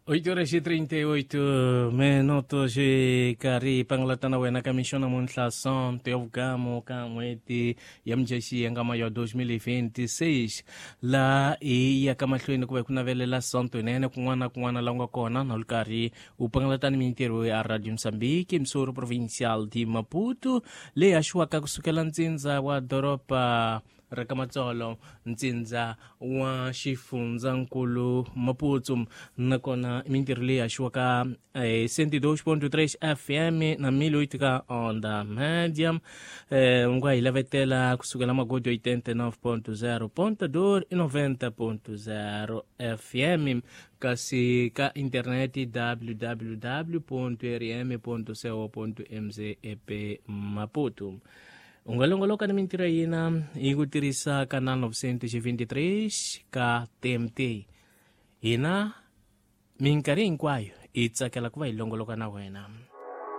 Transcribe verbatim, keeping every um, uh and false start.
Oito horas e trinta e oito minutos karhi pangalatana wena ka mixo namuntlha sonto ya vukamo ka n'hweti ya mudyaxihi ya ngama ya dos mil vinte e seis laha hi yaka mahlweni ku va hi ku navelela sonto yinene kun'wana na kun'wana laha u nga kona na lu karhi u pangalatani mintirho ya Radio Mozambique emissora provincial de Maputo leyi haxiwaka kusukela ntsindza wa doroba ra ka Matsolo ntsindza wa xifundzankulu Maputo nakona mintirho leyi haxiwaka eh, cento e dois ponto três F M na mil oito ka onda média eh, u nga hi lavetela kusukela magodi oitenta e nove ponto zero ponto dois e noventa ponto zero F M kasi ka internet w w w ponto r m ponto co ponto m z e p Maputo. U nga longoloka ni mintirho ya hina hi ku tirhisa canal novecentos e vinte e três ka T M T. Hina minkarhi hinkwayo hi tsakela ku va hi longoloka na wena.